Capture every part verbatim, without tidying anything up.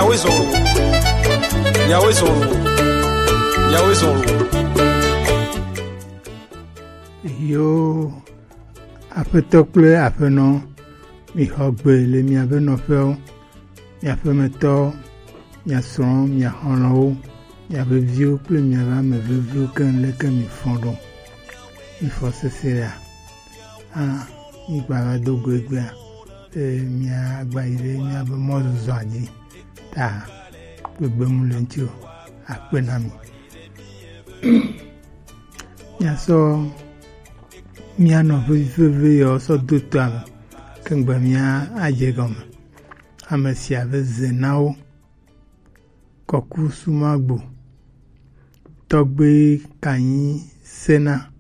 Yahweh zɔn o. Yahweh zɔn o. Yahweh zɔn o. Yo, aƒetɔ kple aƒenɔ, mixɔ gbe le miaƒe nɔƒewo, miaƒemetɔwo, mia srɔ̃wo, mia xɔlɔ̃wo, miaƒe viwo kple miaƒe ame veviwo keŋ leke mifɔ ɖo. Mifɔ sesẽa. Hã, mígbava do go egbea, eye míagba yi ɖe míaƒe mɔzɔzɔa dzi. Ta kpekpe mu le ŋuti o. Akpe na mi. Míasɔ mía nɔvi veve yawo sɔ do toa me, kegbe mía adze gɔme. Ame sia ve ze na wo. Kɔku Sumagbo, Tɔgbe Kanyi Sena,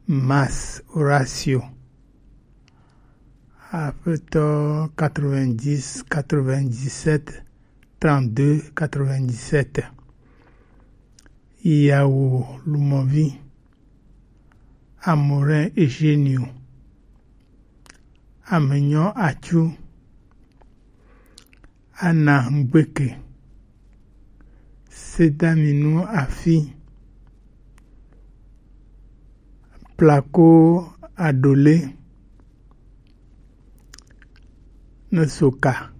Mas Horacio, Aƒetɔ quatre-vingt-dix, quatre-vingt-dix-sept, trente-deux, quatre-vingt-dix-sept, Yawo Lumɔvi, Amorin Eugenio, Amenyo Atsu, Anna Ngbeke, Sedaminu Afi, Plako Adole, Nesoka,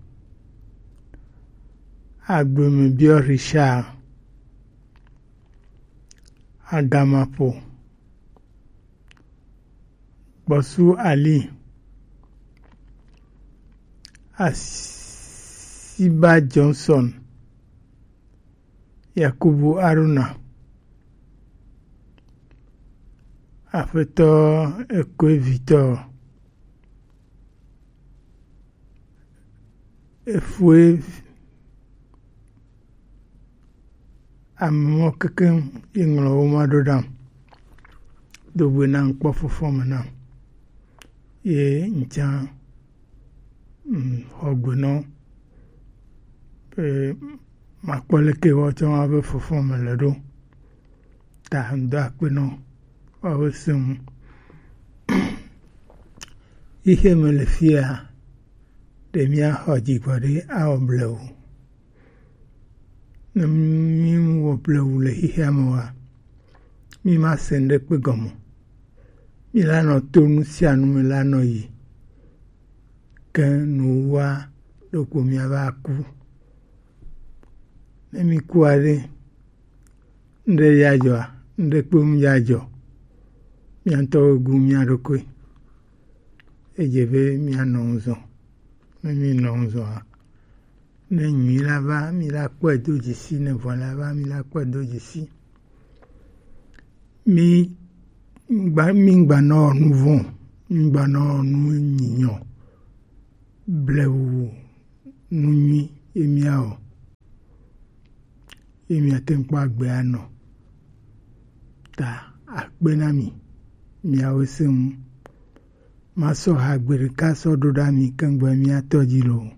Agbemebio Richard, Agamapo, Gbɔsu Ali, Asiba Johnson, Yakubu Haruna, Aƒetɔ Ekoevitɔ, Efue, ame mɔ kekeŋ ye ŋlɔ wo ma ɖo ɖam. Do gbe nam kpɔ fɔfɔ me nam. Ye ŋtsa, mm, xɔ gbe nɔ. Be makpɔ leke woatsɔ ma be fɔfɔ me le ɖo. Ta ŋdɔ akpe nɔ woawo seŋ. Xixe me le fia, ɖe míaxɔ dzigbɔ ɖe awɔ blewu. Ne míwɔ blewu le xixea me wa, míma se ŋɖekpe gɔme. Míla nɔ to nu sia nu me la nɔ yi. Ke nuwua ɖokpo míava ku. Ne míkua ɖe, ŋɖe ya dzɔa, ŋɖekpe ŋu ya dzɔ. Mía ŋutɔwo gu mía ɖokui. Edze be míanɔ ŋu zɔ. Ne míenɔ ŋu zɔa, ne nyui la va, mí la kpɔe do dzesi, ne vɔ̃ la va, mí la kpɔe do dzesi. Mí gba, mí gba nɔ nu vɔ̃, mí gba nɔ nu nyinyɔ. Blewu nu nyui ye míawɔ, ye míate ŋu kpɔ agbe anɔ. Ta akpe na mi, miawo se ŋu. Masɔ ha gbe ɖeka sɔ ɖo ɖa mi keŋgbe mía tɔ dzi loo.